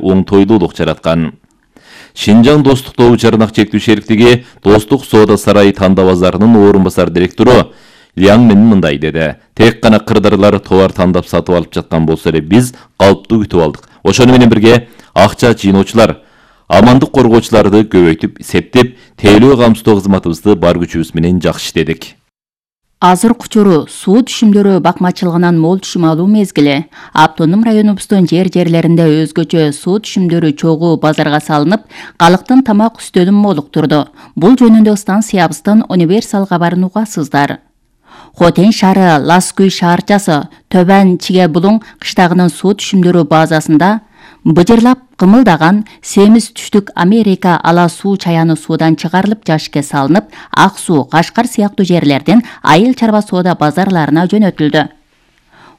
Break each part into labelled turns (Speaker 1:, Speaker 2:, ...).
Speaker 1: оңтойлуулук жараткан. Шинжаң достук тобу жарнак чектүү шериктиги Достук соода сарайы Танда базарынын орун басар директору Ляң Мен мындай деди. Тек гана кырдырлар товар тандап сатып алып жаткан болсо эле биз калыптуу күтүп алдык. Ошону менен бирге акча жыйноочулар, амандык коргоочуларды көбөйтүп, септеп, тейлөө камсыздоо кызматыбызды бар күчүбүз менен жакшы иштедик.
Speaker 2: Азыркы учуру суу түшүмдөрү бакмачылыгынан мол түшүм алуу мезгили. Автоном районубуздун жерлеринде өзгөчө суу түшүмдөрү чогуу базарга салынып, калктын тамак үстөлүн молуктурду. Бул жөнүндө станциябыздын универсал кабарын угасыздар. Хотен шаары Ласкүй шаарчасы Төбөн Чиге Булуң кыштагынын суу түшүмдөрү базасында быжырлап кымылдаган Семиз түштүк Америка ала суу чаяны суудан чыгарылып жашыкка салынып, Ак суу, Кашкар сыяктуу жерлерден айыл чарба соода базарларына жөнөтүлдү.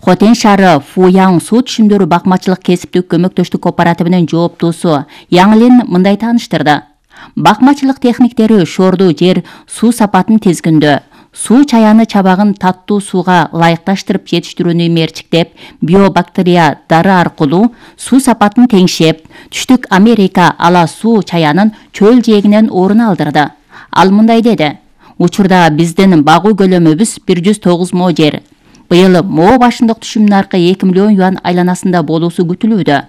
Speaker 2: Хотен шаары Фуяң суу түшүмдөрү бакмачылык кесиптик көмөктөштүк кооперативинин жооптуусу Яңлин мындай тааныштырды. Бакмачылык техниктери шорду жер суу сапатын тизгиндөө, суу чаяны чабагын таттуу сууга ылайыкташтырып жетиштирүүнү мерчиктеп, биобактерия дары аркылуу суу сапатын теңшеп, түштүк Америка ала суу чаянын чөл жээгинен орун алдырды. Ал мындай деди. Учурда биздин багуу көлөмүбүз 109 мо жер. Быйыл мо башындык түшүм наркы 2 миллион юан айланасында болуусу күтүлүүдө.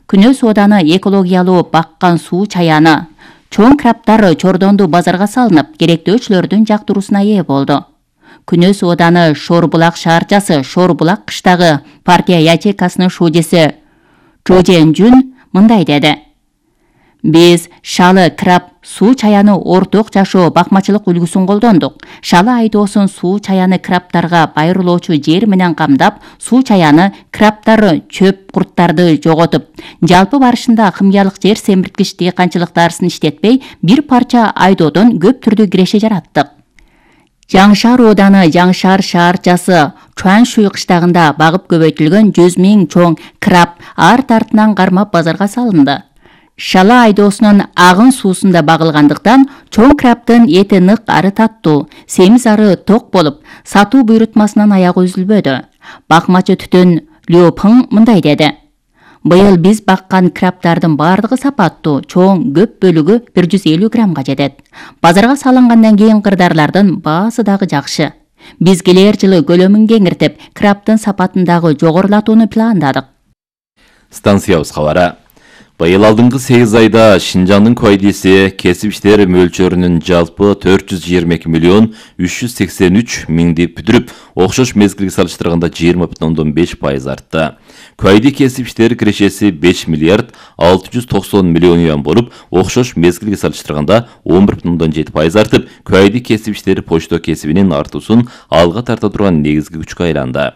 Speaker 2: Күнөө сооданы экологиялуу баккан суу чаяны чоң краптар Чордонду базарга салынып, керектөөчүлөрдүн жактыруусуна ээ болду. Күнөө сооданы Шорбулак шаарчасы Шорбулак кыштагы партия ячейкасынын шуудеси Чожен Жун мындай деди. Биз шалы краб суу чаяны орток жашоо бакмачылык үлгүсүн колдондук. Шалы айдоосун суу чаяны крабтарга байырлоочу жер менен камдап, суу чаяны крабтар чөп курттарды жоготуп, жалпы барышында химиялык жер семирткич дыйканчылык дарысын иштетпей, бир парча айдоодон көп түрдүү киреше жараттык. Жаңшаар ооданы Жаңшаар шаарчасы Чуаншуй кыштагында багып көбөйтүлгөн 100 000 чоң краб арт-артынан кармап базарга салынды. Шала айдоосунун агын суусунда багылгандыктан чоң крабтын эти нык ары таттуу, семиз ары ток болуп, сатуу буйрутмасынан аягы үзүлбөдү. Бакмачы Түтөн Лёпың мындай деди. Быйыл биз баккан крабтардын бардыгы сапаттуу, чоң, көп бөлүгү 150 граммга жетет. Базарга салынгандан кийин кырдарлардын баасы дагы жакшы. Биз келер жылы көлөмүн кеңиртип, крабтын сапатын дагы жогорулатууну пландадык.
Speaker 1: Станциябыз кабары. Быйыл алдыңкы 8 айда Шинжаңдын КВДси кесип иштер мөлчөрүнүн жалпы 422 миллион 383 миңди бүтүрүп, окшош мезгилге салыштырганда 20,5% артты. КВД кесип иштер кирешеси 5 миллиард 690 миллион юан болуп, окшош мезгилге салыштырганда 11,7% артып, КВД кесип иштер почта кесибинин артуусун алга тарта турган негизги күчкө айланды.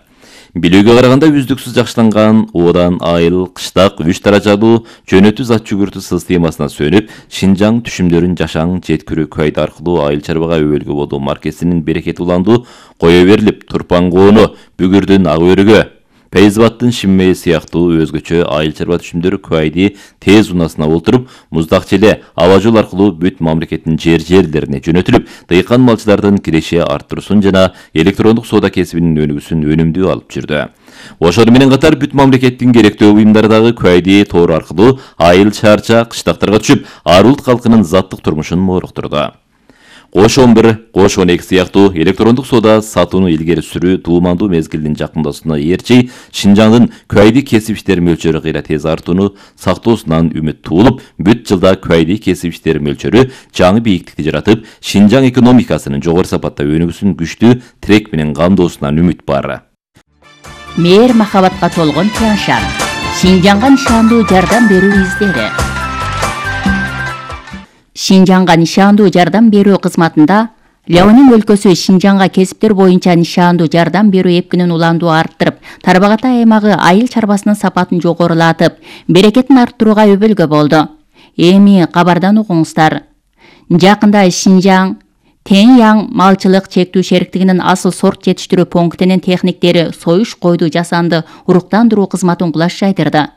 Speaker 1: Билүүгө караганда үздүксүз жакшыланган оодан айыл, кыштак, 3 даражалуу жөнөтүү зат жүгүртүү системасына сөнүп, Шинжаң түшүмдөрүн жашаң жеткирүү КВД аркылуу айыл чарбага өбөлгө болуу маркесинин берекети уланду кое берилип, Турпан коону, Бүгүрдүн ак өрүгө, Пейзбаттын Шиммеи сыяктуу өзгөчө айыл чарба түшүмдөрү КВД тез унасына олтуруп, Муздак Челе аба жол аркылуу бүт мамлекеттин жерлерине жөнөтүлүп, дыйкан малчылардын киреше арттыруусун жана электрондук соода кесибинин өнүгүүсүн өнүмдүү алып жүрдү. Ошону менен катар бүт мамлекеттин керектөө буюмдары дагы КВД тору аркылуу айыл чарча кыштактарга түшүп, ар улут калкынын заттык турмушун мооруктурду. Кош 11, Кош 12 сыяктуу электрондук соода сатууну илгери сүрүү туумандуу мезгилдин жакындашууна ээрчи Шинжаңдын КВД кесип иштер мөлчөрү кыйра тез артууну сактоосунан үмүт туулуп, бүт жылда КВД кесип иштер мөлчөрү жаңы бийиктикти жаратып, Шинжаң экономикасынын жогору сапатта өнүгүүсүн күчтүү тирек менен камдоосунан үмүт бар.
Speaker 2: Мээр махабатка толгон Тяншан. Шинжаңга нишандуу жардам берүү издери. Шинжаңга нишандуу жардам берүү кызматында Ляонин өлкөсү Шинжаңга кесиптер боюнча нишандуу жардам берүү эпкинин уландуу арттырып, Тарбагатай аймагы айыл чарбасынын сапатын жогорулатып, берекетин арттырууга өбөлгө болду. Эми кабардан угуңуздар. Жакында Шинжаң Теньяң малчылык чектүү шериктигинин асыл сорт жетиштирүү пунктинин техниктери союш койду жасанды уруктандыруу кызматын кулаш жайдырды.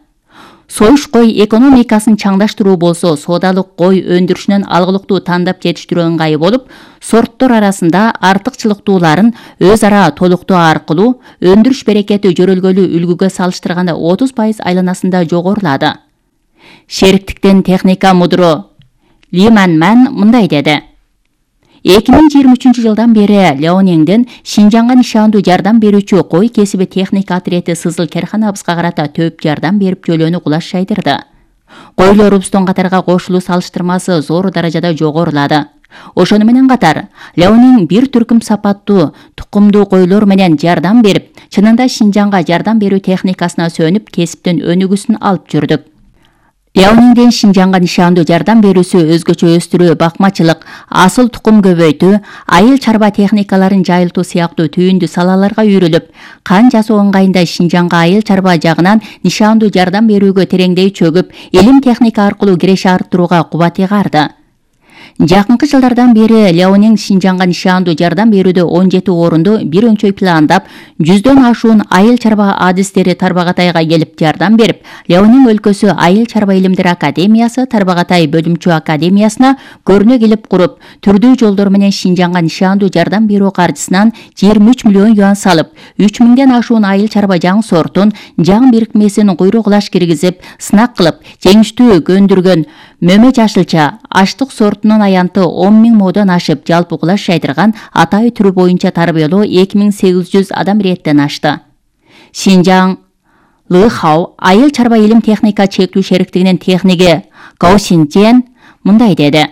Speaker 2: Союш кой экономикасын чаңдаштыруу болсо, соодалык кой өндүрүшүнөн алгылыктуу тандап жетиштирүү ыңгайы болуп, сорттор арасында артыкчылыктууларын өз ара толуктоо аркылуу өндүрүш берекети жөрөлгөлүү үлгүгө салыштырганда 30% айланасында жогорулады. Шериктиктен техника мудуру Ли Манман мындай деди. 2023 жылдан бери Леониңдин Шинжаңга нишандуу жардам берүүчү кой кесиби техника отряды Сызыл керканабызга карата төп жардам берип жөлөнү кулаш жайдырды. Койлорубуздун катарга кошулуу салыштырмасы зор даражада жогорулады. Ошону менен катар, Леонин бир түркүм сапаттуу, тукумдуу койлор менен жардам берип, чынында Шинжаңга жардам берүү техникасына сөнүп, кесиптин өнүгүүсүн алып жүрдүк. Леониңдин Шинжаңга нишандуу жардам берүүсү өзгөчө өстүрүү, бакмачылык, асыл тукум көбөйтүү, айыл чарба техникаларын жайылтуу сыяктуу түйүндүү салаларга үйрүлүп, кан жасоо ыңгайында Шинжаңга айыл чарба жагынан нишандуу жардам берүүгө тереңдей чөгүп, илим техника аркылуу киреше арттырууга кубат ыйгарды. Жакынкы жылдардан бери Леониң Шинжаңга нишандуу жардам берүүдө 17 орунду бир өнчөй пландап, 100дөн ашуун айыл чарба адистери Тарбагатайга келип жардам берип, Леониң өлкөсү Айыл чарба илимдер академиясы Тарбагатай бөлүмчү академиясына көрүнө келип куруп, түрдүү жолдор менен Шинжаңга нишандуу жардам берүү каржысынан 23 миллион юан салып, 3000ден ашуун айыл чарба жаң сортун, жаң бирикмесин куйругулаш киргизип, сынак кылып, жеңиштүү көндүргөн мөмө жашылча, аштык сортунун аянты 10.000 модон ашып, жалпы кулаш жайдырган атай түрү боюнча тарбиялоо 2800 адам реттен ашты. Шинжаң Лыхау айыл чарба илим техника чектүү шериктигинин техниги Гао Синжен мындай деди.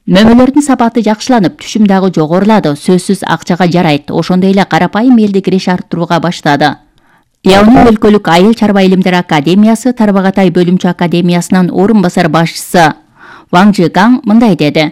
Speaker 2: Мөмөлөрдүн сапаты жакшыланып, түшүм дагы жогорулады, сөзсүз акчага жарайт. Ошондой эле карапайым элди киреше арттырууга баштады. Леониң өлкөлүк айыл чарба илимдер академиясы Тарбагатай бөлүмчү академиясынын орун басар башчысы Ваң Жигаң мындай деди.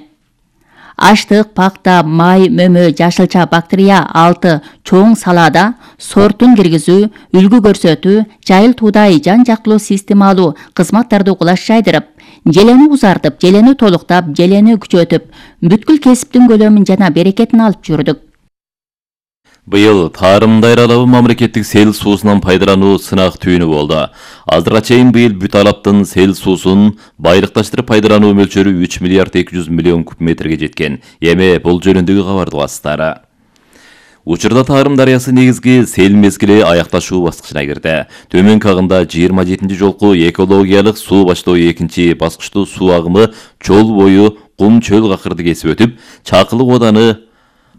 Speaker 2: Аштык, пакта, май, мөмө, жашылча, бактерия 6 чоң салада сортун киргизүү, үлгү көрсөтүү, жайылтуудай жан-жактылуу системалуу кызматтарды кулаш жайдырып, желени узартып, желени толуктап, желени күчөтүп, бүткүл кесиптин көлөмүн жана берекетин алып жүрдүк.
Speaker 1: Быйыл Тарым Дайралабы мамлекеттик сел суусунан пайдалануу сынак түйүнү болду. Азырга чейин быйыл бүт алаптын сел суусун байрыкташтырып пайдалануу мөлчөрү 3 миллиард 200 миллион куб метрге жеткен. Эми бул жөнүндөгү кабарды угасыздар. Учурда Тарым дарыясы негизги сел мезгили аякташуу баскычына кирди. Төмөнкү агымда 27 жолку экологиялык суу баштоо 2 баскычтуу суу агымы жол бою кум чөл какырды кесип өтүп, Чакылык ооданы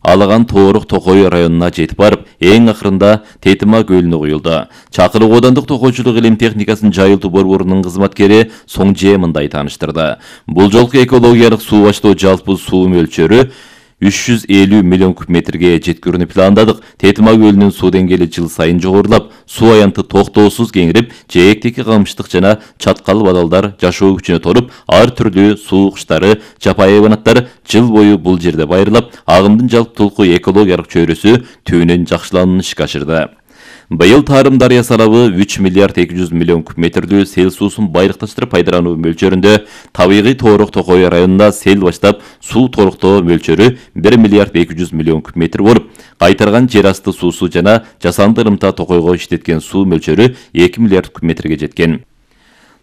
Speaker 1: Алаган Тоорук Токой районуна жетип барып, эң акырында Тетима көлүнө куюлду. Чакылык оодандык токойчулук илим техникасын жайылтуу борборунун кызматкери Соңже мындай тааныштырды. Бул жолку экологиялык суу баштоо жалпы суу мөлчөрү 350 миллион куб метрге жеткирүүнү пландадык. Тетима көлүнүн суу деңгээли жыл сайын жогорулап, суу аянты токтоосуз кеңирип, жээктеги камыштык жана чаткал бадалдар жашоо күчүнө толуп, ар түрдүү суу куштары, жапайы хайванаттар жыл бою бул жерде байырлап, агымдын жалптуулуку экологиялык чөйрөсү түбүнөн жакшыланууну ишке ашырды. Быйыл Тарым дарыясы алабы 3 миллиард 200 миллион куб метрдүү сел суусун байрыкташтырып пайдалануу мөлчөрүндө табигый Тоорук Токой районунда сел баштап суу толуктоо мөлчөрү 1 миллиард 200 миллион куб метр болуп, кайтарган жер асты суусу жана жасанды ырымта Токойго иштеткен суу мөлчөрү 2 миллиард куб метрге жеткен.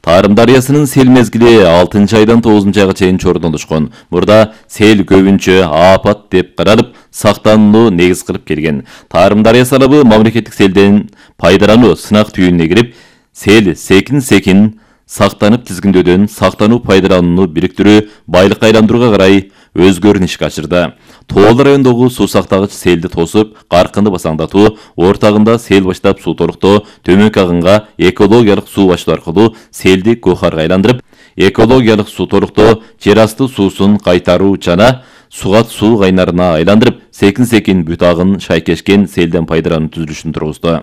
Speaker 1: Тарым дарыясынын сел мезгили 6 айдан 9 айга чейин чордолушкон. Мурда сел көбүнчө апат деп каралып, сактанууну негиз кылып келген. Тарым дарыясы алабы мамлекеттик селден пайдалануу сынак түйүнүнө кирип, сел секин сактанып тизгиндөөдөн сактануу пайдаланууну бириктирүү, байлыкка айландырууга карай өзгөрүүнү ишке ашырды. Тоол райондогу суу сактагыч селди тосуп, каркынды басаңдатуу, ортагында сел баштап суу толуктоо, төмөнкү агымга экологиялык суу баштоо аркылуу селди кохарга айландырып, экологиялык суу толуктоо, жер асты суусун кайтаруу жана сугат суу кайнарына айландырып, секин бүт агын шайкешкен селден пайдалануу түзүлүшүн тургузду.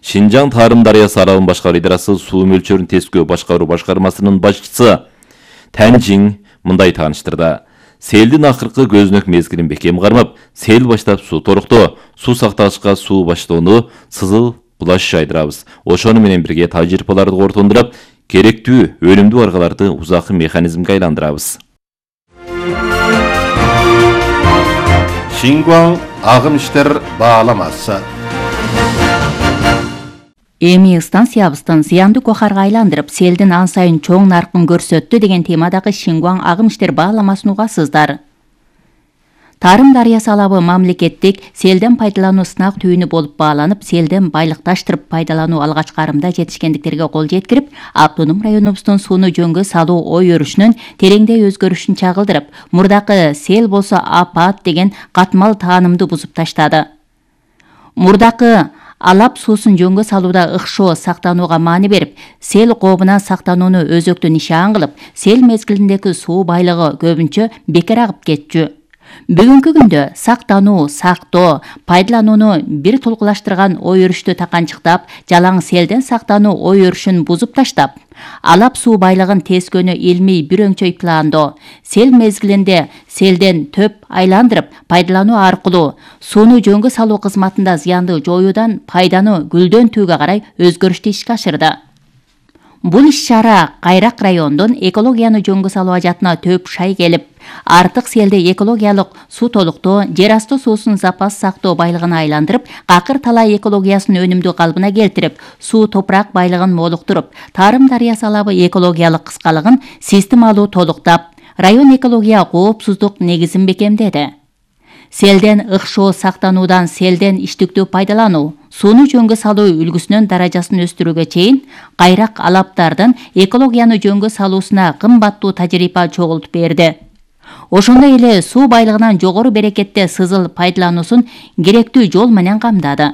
Speaker 1: Шинжаң Тарым дарыясы алабын башкаруу идарасы суу мөлчөрүн тескөө башкаруу башкармасынын башчысы Тәнжиң мындай тааныштырды. Селдин акыркы көзүнөк мезгилин бекем кармап, сел баштап суу толуктоо, суу сактагычка суу баштоону сызыл кулаш жайдырабыз. Ошону менен бирге тажрыйбаларды кортондурап, керектүү өнүмдүү аргаларды узакы механизмге айландырабыз.
Speaker 3: Шингуаң агым иштер бааламасы.
Speaker 2: Эми станциябыздын зыяндуу кохарга айландырып, селдин ан сайын чоң наркын көрсөттү деген темадагы Шингуаң агым иштер бааламасын угасыздар. Тарым дарыясы алабы мамлекеттик селден пайдалануу сынак түйүнү болуп бааланып, селден байлыкташтырып пайдалануу алгач карымда жетишкендиктерге кол жеткирип, автоном районубуздун сууну жөнгө салуу ой өрүшүнүн тереңдей өзгөрүшүн чагылдырып, мурдакы сел болсо апат деген катмал таанымды бузуп таштады. Мурдакы алап суусун жөнгө салууда ыкшоо сактанууга маани берип, сел кообунан сактанууну өзөктүн нишан кылып, сел мезгилиндеги суу байлыгы көбүнчө бекер агып кетчү. Бүгүнкү күндө сактануу, сактоо, пайдаланууну бир тулкулаштырган ой өрүштү таканчыктап, жалаң селден сактануу ой өрүшүн бузуп таштап, алап суу байлыгын тескөнү илмий бир өңчөй пландоо, сел мезгилинде селден төп айландырып пайдалануу аркылуу сууну жөнгө салуу кызматында зыянды жоюудан пайданы гүлдөн-түгө карай өзгөрүштү ишке ашырды. Бул иш-чара Кайрак районунун экологияны жөнгө салуу ажатына төп шай келип, артык селди экологиялык суу толуктоо, жер асты суусун запас сактоо байлыгына айландырып, какыр талай экологиясын өнүмдүү калыбына келтирип, суу топурак байлыгын молуктуруп, Тарым дарыясы алабы экологиялык кыскалыгын системалуу толуктап, район экология коопсуздук негизин бекемдеди. Селден ыкшоо сактануудан селден иштиктүү пайдалануу, сууну жөнгө салуу үлгүсүнүн даражасын өстүрүүгө чейин Кайрак алаптардын экологияны жөнгө салуусуна кымбаттуу тажрыйба чогултуп берди. Ошондой эле суу байлыгынан жогору берекетте сызыл пайдалануусун керектүү жол менен камдады.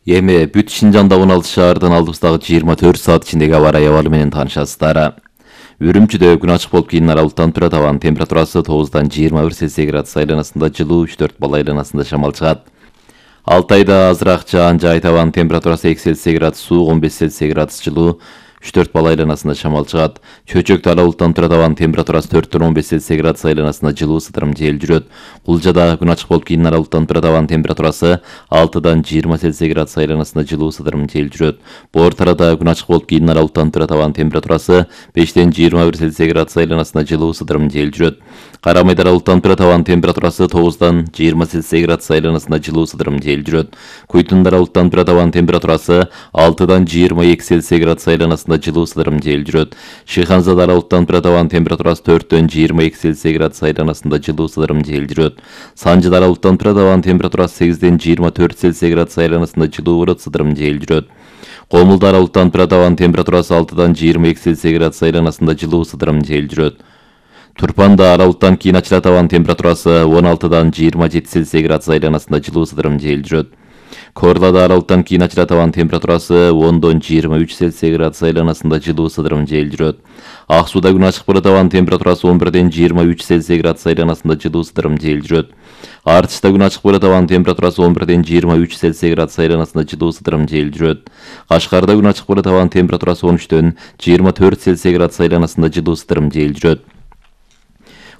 Speaker 1: Эми бүт Шинжанда 16 шаардан алдыбыздагы 24 саат ичиндеги аба ырайы абалы менен таанышасыздар. Үрүмчүдө күн ачык болуп кийин аралыктан турат, абанын температурасы 9-дан 21 Цельсий градус айланасында жылуу, 3-4 балл айланасында шамал чыгат. Алтайда азыраак жаан жайыт, абанын температурасы 2 Цельсий градус суук, 15 Цельсий градус жылуу, 3-4 балл айланасында шамал чыгат. Чөчөктө ала булуттан турат, абанын температурасы 4-төн 15 Цельсий градус айланасында жылуу, сыдырым жел жүрөт. Кулжада күн ачык болуп кийин ала булуттан турат, абанын температурасы 6-дан 20 Цельсий градус айланасында жылуу, сыдырым жел жүрөт. Боор тарада күн ачык болуп кийин ала булуттан турат, абанын температурасы 5-тен 21 Цельсий градус айланасында жылуу, сыдырым жел жүрөт. Карамайда ала булуттан турат, абанын температурасы 9-дан 20 Цельсий градус айланасында жылуу, сыдырым жел жүрөт. Куйтунда ала булуттан турат, абанын температурасы 6-дан 22 Цельсий градус айланасында жылуу, сыдырым жел жүрөт. Шыйханзада ала булуттан турат, абанын температурасы 4-төн 22 Цельсий градус айланасында жылуу, сыдырым жел жүрөт. Санжыда ала булуттан турат, абанын температурасы 8-ден 24 Цельсий градус айланасында жылуу болот, сыдырым жел жүрөт. Комулда ала булуттан турат, абанын температурасы 6-дан 22 Цельсий градус айланасында жылуу, сыдырым жел жүрөт. Турпанда ала булуттан кийин ачылат, абанын температурасы 16-дан 27 Цельсий градус айланасында жылуу, сыдырым жел жүрөт. Корлада ала булуттан кийин ачылат, абанын температурасы 10-дон 23 Цельсий градус айланасында жылуу, сыдырым жел жүрөт. Ак сууда күн ачык болот, абанын температурасы 11-ден 23 Цельсий градус айланасында жылуу, сыдырым жел жүрөт. Артышта күн ачык болот, абанын температурасы 11-ден 23 Цельсий градус айланасында жылуу, сыдырым жел жүрөт. Кашкарда күн ачык болот, абанын температурасы 13-ден 24 Цельсий градус айланасында жылуу, сыдырым жел жүрөт.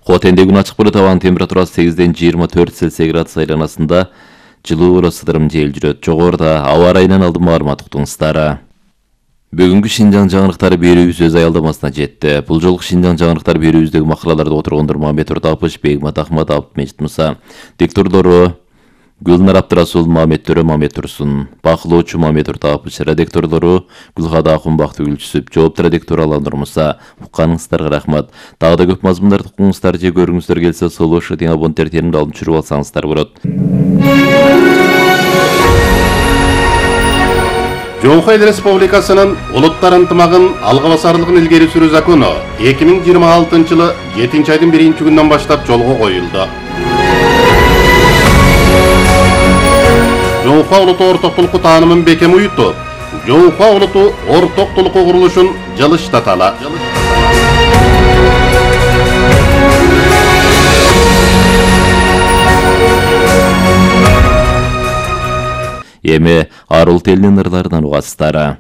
Speaker 1: Хотенде күн ачык болот, абанын температурасы 8-ден 24 Цельсий градус айланасында жылуу болот, сыдырым жел жүрөт. Жогоруда аба ырайынан алдын маалымат уктуңуздар. Бүгүнкү Шинжаң жаңылыктары берүүбүз өз аялдамасына жетти. Бул жолку Шинжаң жаңылыктары берүүбүздөгү макалаларды отургондор Мамет Туртапыш, Бегмат Ахматов, Мечит Муса. Диктордору Гүлнар Абдрасул, Мамет Төрө, Мамет Турсун. Бакылоочу Мамет Туртапыш. Редактордору Гүлхада Акун, Бактыгүл Жүсүп. Жоопту редактор Аландыр Муса. Укканыңыздарга рахмат. Дагы да көп мазмундарды укуңуздар же көрүңүздөр келсе, Солош радио абоненттер терминалын алып жүрүп алсаңыздар болот.
Speaker 3: Жоңхой Эл Республикасынын улуттар ынтымагын алга басарлыгын илгери сүрүү закону 2026 жылы 7-айдын 1-күнүнөн баштап жолго коюлду. Жоңхо улуту орток толуку таанымын бекем уютуп, Жоңхо улуту орток толуку курулушун жылыштаталы.
Speaker 1: Эми Арул телинин ырларынан угасыздар.